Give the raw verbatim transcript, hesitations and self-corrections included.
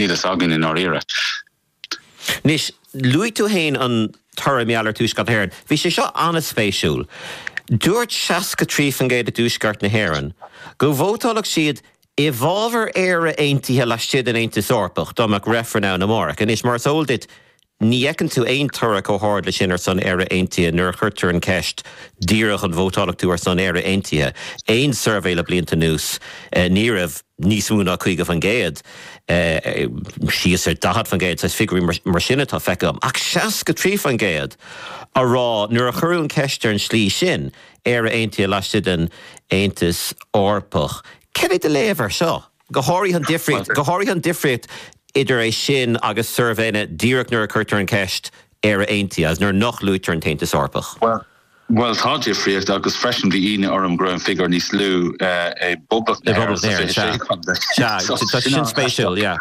Níl a fhios againn i ndáiríre. Anois luaigh tú féin an toradh mar gheall ar Tuaisceart na hÉireann. Bhí sé seo an-spéisiúil. Dúirt seasca trí faoin gcéad i dTuaisceart na hÉireann go vótálfadh siad i bhfabhar Éire aontaithe laistigh den Aontas Eorpach dá mbeadh reifreann ann amárach. Anois mar is eol duit ní fheiceann tú aon toradh chomh hard leis sin ar son Éire aontaithe nuair a chuirtear an ceist díreach an vótálfadh tú ar son Éire aontaithe. Aon suirbhé le blianta anuas ní raibh níos mó ná caoga faoin gcéad síos ar daichead faoin gcéad is figiúirí mar sin atá feicthe agam. Ach seasca trí faoin gcéad a rá nuair a chuireadh an ceist ar an slí sin Éire aontaithe laistigh den Aontas Eorpach. Céard é do léamh air seo? Go háirithe an difríocht go háirithe an difríocht idir é sin agus suirbhéanna díreach nuair a chuirtear an ceist Éire aontaithe agus nuair nach luaitear an tAontas Eorpach. Well, Well tá difríocht agus freisin bhí ionadh orm go raibh an figiúr níos lú i bPoblacht na sin spéisiúil, yeah.